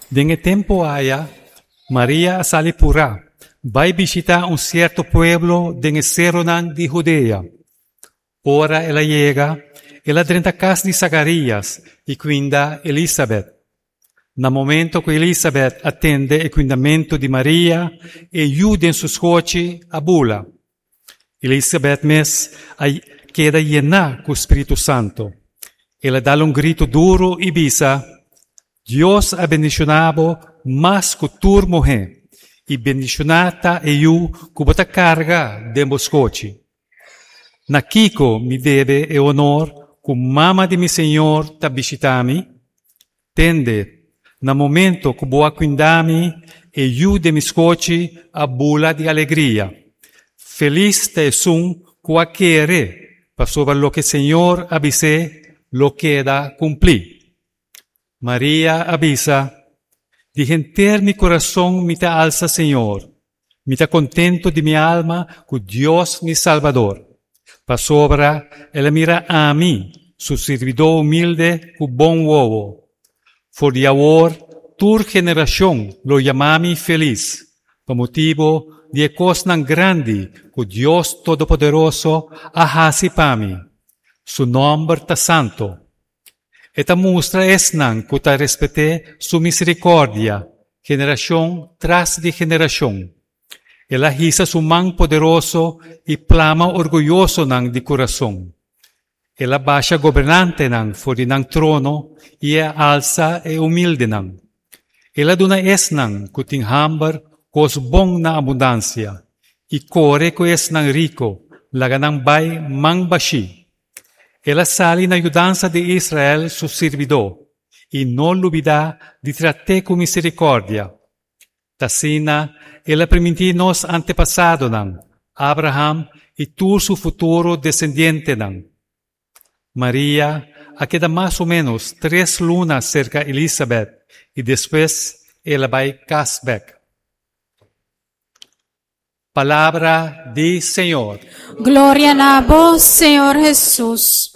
Den e tempu aya, Maria a sali purá, bai bishitá un sierto pueblo den e seronan di Hudea. Ora el a yega, el a drenta kas di Zakarías i kuinda Elisabet. Na momento ku Elisabet a tende e kuindamentu di Maria, e yu den su skochi a bula. Elisabet mes a keda yená ku spiritu santu. El a dal un gritu duru i bisa, Dios a bendishoná bo mas ku tur muhé, i bendishoná ta e yu ku bo ta karga den bo skochi. Na kiko mi debe e honor ku mama di mi Señor ta bishitá mi? Tende, na momento ku bo a kuindá mi, e yu den mi skochi a bula di alegria. Felis ta esun ku a kere, pasobra loke Señor a bis'é lo keda kumplí. Maria a bisa, Di henter mi kurason mi ta alsa Señor. Mi ta kontentu di mi alma ku Dios mi Salbador, pasobra el a mira ami, su sirbidó humilde, ku bon wowo. For di awor tur generashon lo yama mi felis, pa motibu di e kosnan grandi ku Dios Todopoderoso a hasi pa mi. Su nòmber ta santu. E ta mustra esnan ku ta respet'é su miserikòrdia generashon tras di generashon. El a hisa su man poderoso i plama orguyosonan di kurason. El a basha gobernantenan for di nan trono i a alsa e humildenan. El a duna esnan ku tin hamber kos bon na abundansia i kore ku esnan riko laga nan bai man bashí. El a sali na yudansa di Israel su sirbidó i no lubidá di trat'é ku miserikòrdia. T'asina el a primintí nos antepasadonan, Abraham i tur su futuro desendientenan. Maria a keda mas o ménos tres luna serka Elisabèt i despues el a bai kas bèk. Palabra di Señor. Gloria na bo, Señor Hesus.